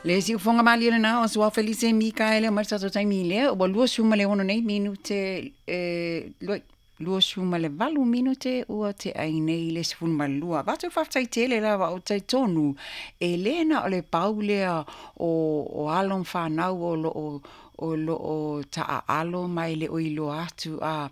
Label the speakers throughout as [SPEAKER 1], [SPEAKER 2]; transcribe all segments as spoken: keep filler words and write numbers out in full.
[SPEAKER 1] Le siufoga malie lenā o Suao Felise Mikaele mai le tatou taimi lea ua luasefulu ma le ono nei minute e luasefulu ma le valu minute ua tea ai nei le sefulu ma le lua. Avatu le faafetai tele lava o talitonu e lē na o le pau lea o o alo ma fanau o loo o loo taaalo ma e le o iloa atu a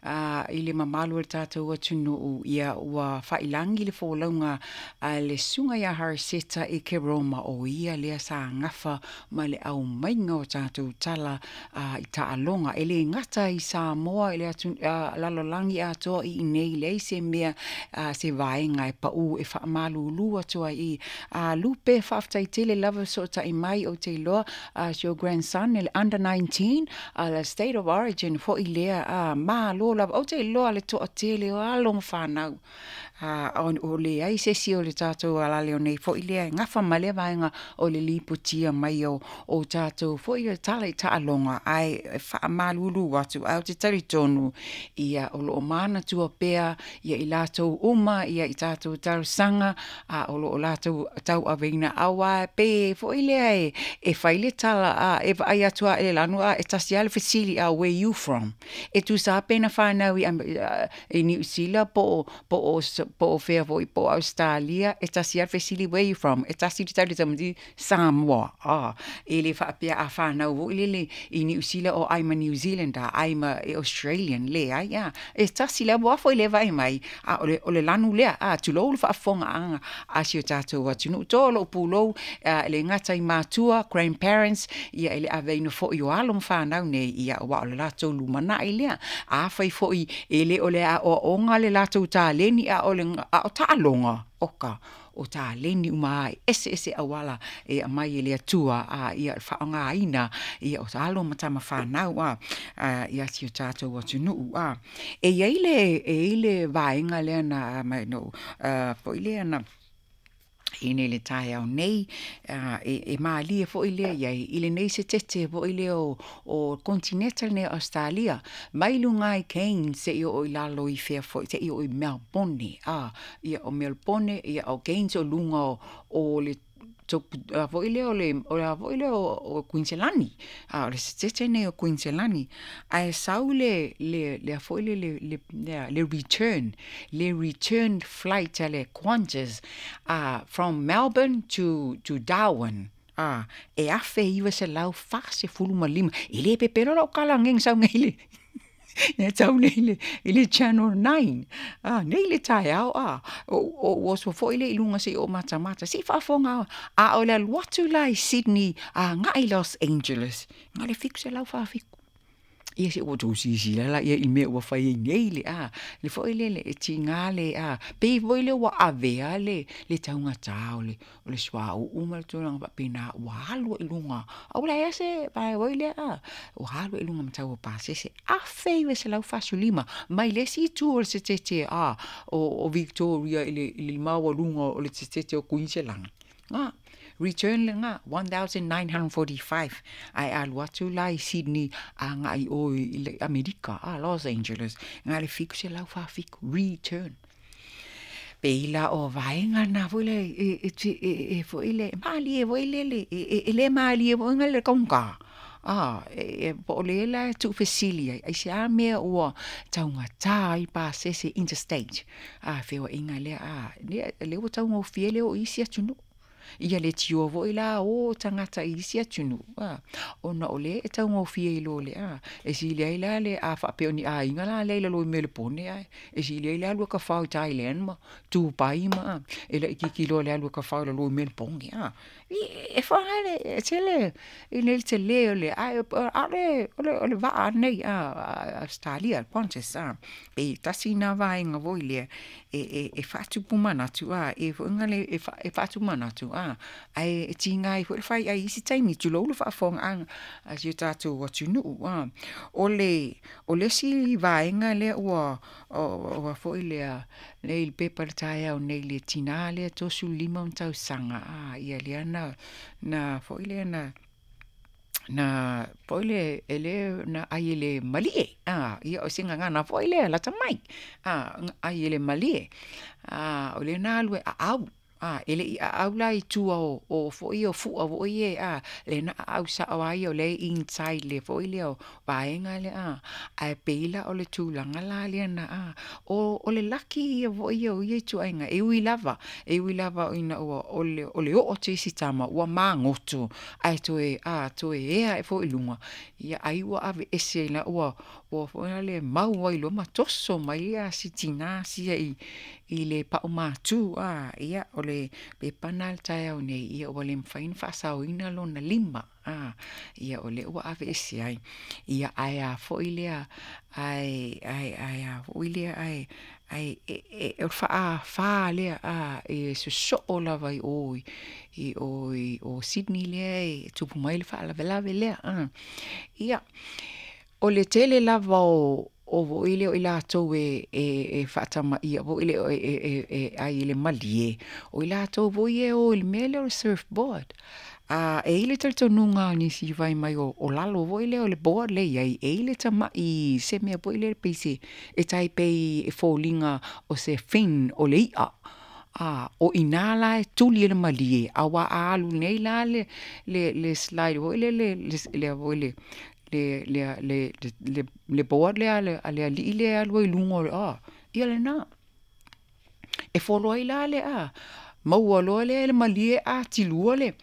[SPEAKER 1] a i le mamalu o le tatou atunuu. Ia ua faailagi le folauga a le susuga ia Harriseta i Keroma, o ia lea sa gafa ma le aumaiga o tatou tala a i taaloga e lē gata i Samoa i le atu lalolagi atoa i inei leai se mea a se vaega e paū e faamalūlū atu ai i a Lupe. Faafetai tele lava sootai mai. Ou te iloa as your grandson le under nineteen a le State of Origin foʻi lea a malo lava. Ou te iloa le toatele o alo ma fanau a o leai se isi o le tatou alale o nei foʻi lea e gafa ma lea vaega o le lipotia mai o o tatou foʻi o tala i taaloga, ae faamalūlū atu ae ou te talitonu ia o loo manatua pea ia i latou uma ia i tatou talosaga a o loo latou tauaveina auā pe foʻi lea e e fai le tala a e vaai atu a e le lanu a e tasi a le fesili a, "Where you from?" E tusa pe na fanau i i Niu Sila po po o po o fea foi po o Australia, e tasi a le fesili, "Where you from?" E tasi le tali tamaiti, "Samoa." A e le faapea a fanau foi lele i Niu Sila o I'm a New Zealander, I'm a Australian, leai a e tasi le ua foi le vaai mai a o le o le lanu lea a tulou le faafofogaaga a si o tatou atunuu to lou pulou e le gata i matua, grandparents, ia e le aveina foi o alo ma fanau nei ia ua o le latou lumanai lea. Afai foi e le o le aoaoga le latou taleni a o le a o taaloga oka o taleni uma ai ese ese auala e aumai e le Atua a ia faaaogaina ia o alo ma tama fanau a ia si o tatou atunuu a e iai le e iai le vaega lea na mai no foi lea na i nei le taeao nei e, e malie foʻi lea iai i lenei setete foʻi lea o, o continental nei Australia mai luga i Cairns seia oo i lalo i fea foʻi seia oo i Melbourne a ia o Melbourne ia o Cairns o luga o, o le foi lea o le o le foi lea o Kuiniselani a o le setete nei o Kuiniselani ae sau le le le foi le le le le return le return flight a le Qantas uh, from Melbourne to to Darwin a e afe iwa selau fasefulu ma lima. E le pepelo lau kalagega sau nei le e tau nei le i le Channel nine a nei le taeao a o o oso foʻi le i luga seia o matamata sei faafofoga a o le alu atu la i Sydney a agai Los Angeles na le fitu selau faafitu. Ia se ua tou silasila la ia i mea ua fai ai nei le a le foʻi le le e tigā le a pei foi le ua avea le le taugatā o le o le suauu ma le tulaga faapena ua alu ai i luga a ua leai se vae oi lea a ua alu ai i luga ma tau o pasese afe iva selau fasefululima mai le isi itu o le setete a o o Victoria i le i le maualuga o le setete o Kuiniselani a return lena one thousand nine hundred forty-five ae alu atu la i Sydney agai o i le Amerika a Los Angeles na le fitu selau faafitu return pei la o vaega na foi le e e e e foi le malie foi le le e e le malie foi le kaugata a e po o le la e tuufesili ai ai se a mea ua taugatā ai pasese interstate a feoaiga lea a lea lea ua taugofie le oo i isi atunuu ia le tioa foʻi la o tagata i isi atunuu a ona o lea e taugofie i lo le a e sili ai la le a faapea o ni aiga la lea i lalo i Melepone ae e sili ai le alu e kafao i Thailand ma Dubai ma e laʻikiki loa le alu e kafao i lalo i Melepone a e faale e tele i le telē o le ae aʻole o le o le vaa nei a Australia Qantas a pe tasi na vaega foi lea e e e faatupu manatu a e foʻiga le e fa e faatupu manatu a ae e tiga ai foi le fai ai isi taimi tulou le faafofogaaga a si o tatou atunuu a o le o le isi vaega lea ua ua foi lea nei le pepa le taeao nei le tinā lea tolusefulu lima ona tausaga a ia lea na na foi lea na na foi le e le na ai e le malie a ia o se gagana foi lea lata mai a ai e le malie a o le na alu e aau A e leʻi aʻau la i tua o o foʻi o fuʻa foʻi e a le na aʻau saʻo ai o le inside le foʻi lea o vaega lea a ae pei la o le tulaga la lea na a o o le laki ia foʻi ia o ia ituaiga e ui lava e ui lava ina ua o le o le oo atu i si tama ua magoto ae toe a toe ea aʻe foi i luga ia ai ua aveese ai la ua ua foi lale mau ai loa ma toso mai ia si tinā sia i i le paʻumatū a ia o le pepa lena i le taeao nei ia ua le mafai ona faasaoina lona lima a ia o lea ua aveese ai ia ae a foi lea ae ae ae a foi lea ae ae e e o le faafa lea a e sosoo lava i o i o i o Sydney lea e tupu mai le faalavelave lea a. Ia o le tele lava o o foi lea o i latou e e e faatamaia foi le e e e ai i le malie, o i latou foi e o i le mea lea o le surfboard. A e i ai le talitonuga o nisi fai mai o o lalo foi lea o le board lea e i ai, e i ai le tamaʻi se mea foi lele pei se e tai pei e foliga o se fin o le iʻa. A o i ina la e tuli ai le malie, auā a alu nei la le le le slide foi lele le le foi le le le le le le board lea a le alii lea e alu ai i luga o le a ia lena. E folo ai la le a maua loa lea e le malie atilua le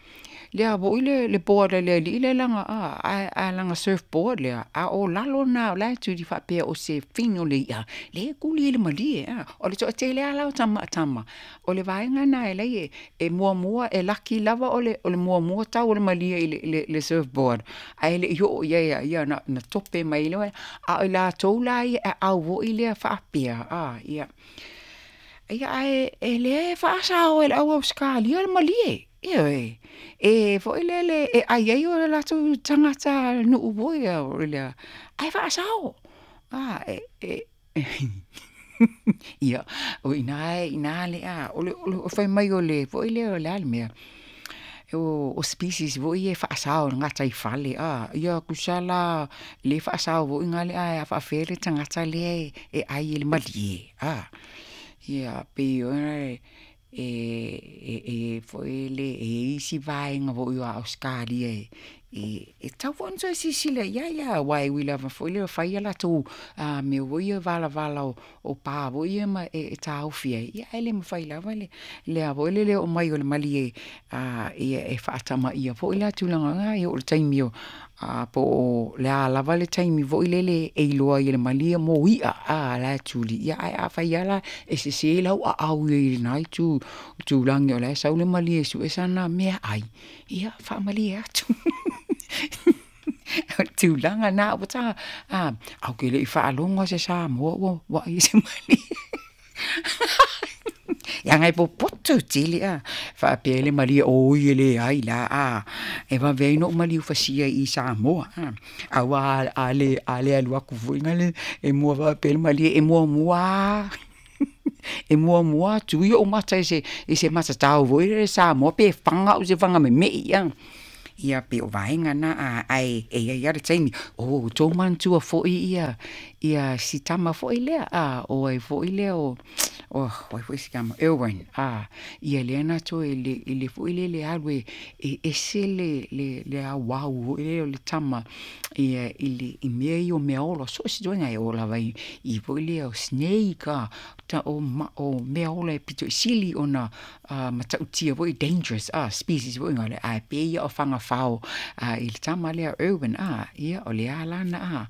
[SPEAKER 1] lea foi le le board a le alii lea laga a ae ae lana surfboard lea a o lalo lena o la e tuli faapea o se fin o le iʻa lea e tuli ai le malie a. O le toatele lava la o tama tama o le vaega lena e alai e e muamua e laki lava o le o le muamua tau o le malie i le le le surfboard ae leʻi oo i ai ia na na tope mai loa a o i latou la ia e aʻau foi lea faapea a ia. Ia ae e lea e faasao e le au Ausekalia le malie, ioe, e foi lele e ʻai ai o latou tagata nuu foi lea ae faasao. A e e ia o ina e ina lea o le o le fai mai o le foi lea o le a le mea o o species foi ia e faasao i le gataifale a ia tusa la le faasao foi gale ae a faapefea le tagata lea e ʻai i le malie a. Ia pei e e e foi le e i ai isi vaega foi o Ausekalia e e e tatau foi ona toe silasila i ai aua e ui lava foi lea fai a latou a mea foi ia valavala o o pa foi ia ma e taofi ai ia ae le mafai lava le lea foi le oo mai o le malie a ia e faatamaia foi la tulaga na e oo i le taimi o a po o le a lava le taimi foi lele e iloa ai e le malie mo iʻa a la e tuli ia ae afai lava la e sese lau aau i lena itu tulagi o la e sau le malie e sue sana meaai ia faamalie atu. O le tulaga lena ua ta a ae ou te leʻi faalogo se Samoa ua ua ai se malie. Leaga e popoto tele a faapea ai le malie oi e leai la a e vave ai ona ou maliu fasia i Samoa a. Auā a le a le alu atu foi lale e mua faapea le malie e muamua e muamua atu ia ou mata i se i se matatao foi lele Samoa pe faga au i se faga memeʻi a. Ia pei o vaega na a ae e i ai lava le taimi o ua outou manatua foi ia ia si tama foi lea a o ai foi lea o o ai foi si tama Irwin a ia lea na toe i le i le foi lele alu e e ese le le le auau foi lea o le tama ia i le i mea ia o meaola so o se ituaiga e oo lava i i foi lea o snake a ta o ma o meaola e pito i sili ona a matautia foi dangerous a species foi gale ae pei ia o fagafao a i le tama lea Irwin a ia o le a lana a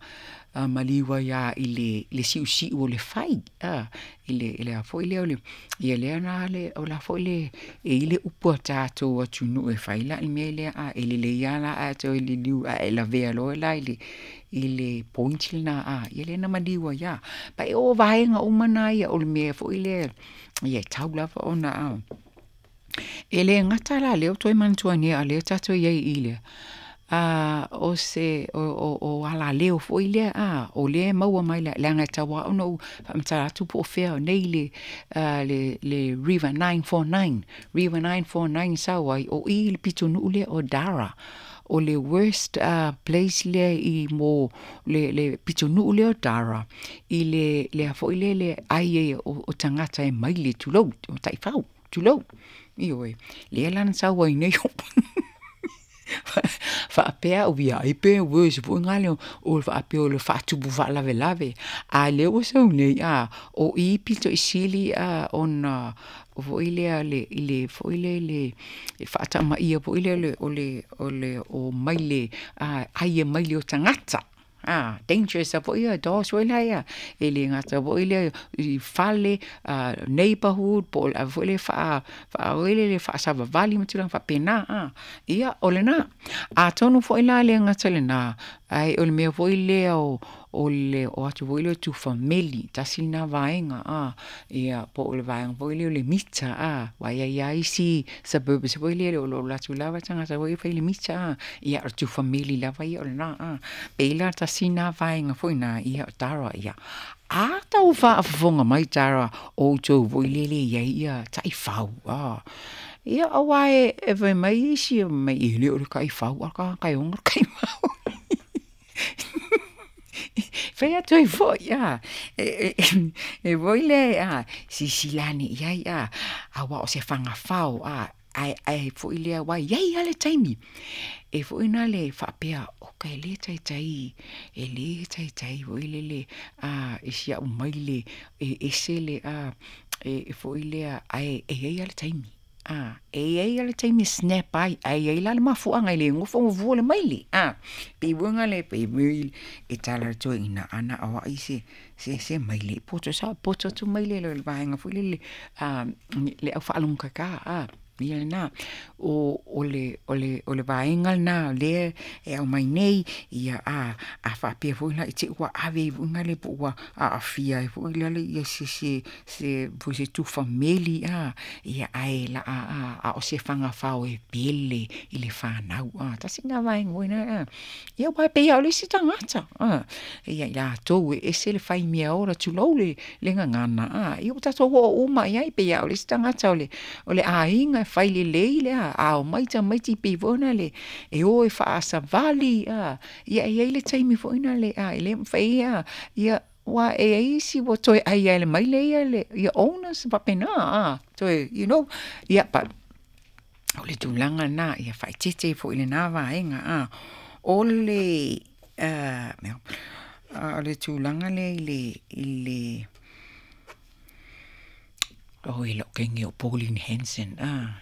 [SPEAKER 1] a maliu ai lava i le le siusiu o le fai a i le i le a foi lea o le ia lea na le o la foi le e i ai le upu a tatou atunuu e fai la i le mea lea a e lelei lava la ae toe liliu ae e lavea loa la i le i le point lena a ia lea na maliu ai lava. Pa e o vaega uma na ia o le mea foi lea ia e tau lava ona a e le gata la lea ua toe manatua nei a o lea tatou i ai i le a o se o o o alaleo foi lea a o lea e maua mai leaga e tau lava ona ou faamatala atu po o fea nei le a le le River nine four nine River nine four nine sau ai o i le pitonuu lea o Darra o le worst uh, place lea i mo le le pitonuu lea o Darra i le lea foi lea le ai ai o, o tagata e maile tulou o taifau tulou. Ioe, lea la na sau ai nei faapea au ia ai pe worse foi lena o le faapea o le faatupu faalavelave. A o lea ua sau nei a, o i pito i sili a ona foi lea le i le foi lele e faatamaia foi lea o le o le o maile a ai e maile o tagata. A dangerous foi ia dogs foi la ia e le gata foi lea i fale, uh, neighborhood po o le ave foi lea faa faa le faasavavali ma tulaga faapena a. Ia o lena. Atonu foi la le gata i lena, ae o le mea foi lea o o le o atu foi lea o tufameli, tasi lena vaega a, ia po o le vaega foi lea o le mita a, aua e i ai lava isi suburbs foi lele o lo o alu atu lava tagata foi ia e fai le mita a, ia o le tufameli lava ia o lena a. Pei la tasi lena vaega foi lena, ia o Tara ia. A tau faafofoga mai Tara o outou foi lele e i ai ia taifau a. Ia aua e e fai mai isi mai e le o le taifau a o le tagata e ona le taifau. Fai atu ai foi a, e e foi lea a, silasila ane i ai a, aua o se fagafao a, ae ae foi lea aua e i ai lava le taimi e foi lena le faapea, oka e le taitai, e le taitai foi lele a i si au maile e ese le a e foi lea ae e i ai lava le taimi. A, e i ai lava le taimi e snap ai, ae i ai la le mafuaaga e le nofo ma fua le maile. A, pei foi lena le pei foi e tala le toeaina ana o ai se se se maile poto sa poto atu maile le vaega foi lele a le au faalogokaka a ia lena o o le o le o le vaega lena lea e aumai nei ia a a faapea foi la i te i ua ave ai foi lena po ua aafia ai foi lale ia se se se foi se tufa meli a ia ae la a a a o se fagafao e pele i le fanau a tasi lena vaega foi lena a ia aua e pei lava o le isi tagata a ia i latou e ese le fai meaola tulou le le gagana a ia ua tatou oo uma i ai pei lava o le isi tagata o le o le aiga e fai lelei le a a omai tamaiti pei foi lena le e o e faasavali a ia e i ai le taimi foi lena le a e le mafai a ia aua e i ai isi ua toe ai lava e le maile ia le ia owners faapena a toe you know ia but o le tulaga lena ia faaeteete foi i lena vaega a. O le o le tulaga lea i le i le oi lou teine o Pauline Hanson a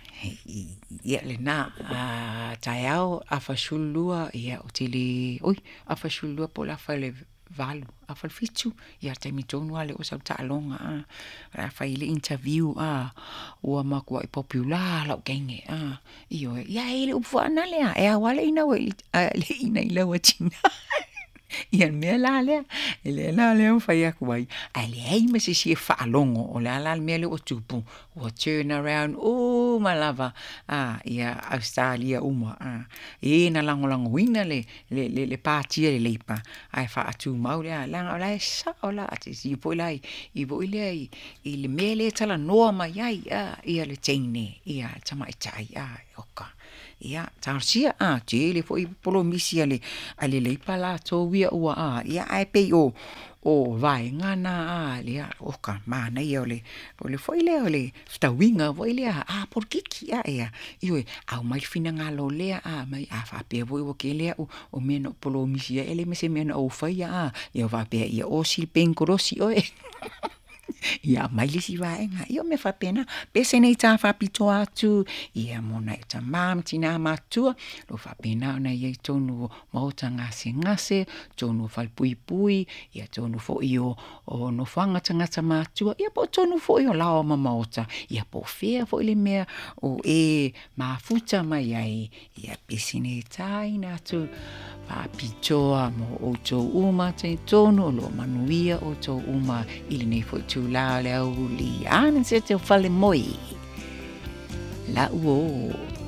[SPEAKER 1] ia lena a taeao afa sefulu lua ia ou te le oi afa sefulu lua po o le afa i le valu afa i le fitu ia le taimi tonu lava lea ua sau le taaloga a o le a fai ai le interview a ua matuai popular lou teine a ioe ia e i ai le upu faanale a e ao lava le inau le ina i lau atina ia le mea la lea e lea la lea ua fai atu ai ae leai ma se isi e faalogo o le a la le mea lea ua tupu ua turn around uma lava a ia Ausetalia uma a e na lagolagoina le le le le patia le Leipa ae faatumau le a leaga o la e sao la silasila foi la i foi lea i i le mea lea e talanoa mai ai a ia le teine ia le tamaitai a oka ia talosia a tele foi polomisi a le a le Leipa latou ia ua a ia ae pei o o vaega na a lea oka manaia o le o le foi lea o le fetauiga foi lea a polokiki a ia ioe aumai le finagalo lea a aumai a faapea foi ua tele au o mea na ou polomisi ai e leai ma se mea na ou faia a ia faapea ia osi le penikolosi oe ia aumai le isi vaega ia o mea faapena pese nei ta faapitoa atu ia mo nai o tamā ma tinā matutua lo faapena ona i ai tonu o maota gasegase tonu o falepuipui ia tonu foi o o nofoaga tagata matutua ia po o tonu foi o laoa ma maota ia po o fea foi le mea o e mafuta mai ai ia pese nei taina atu faapitoa mo outou uma talitonu o lo o manuia outou uma i lenei foi itulā o le aoauli. A na se te o fale moe. Lau o.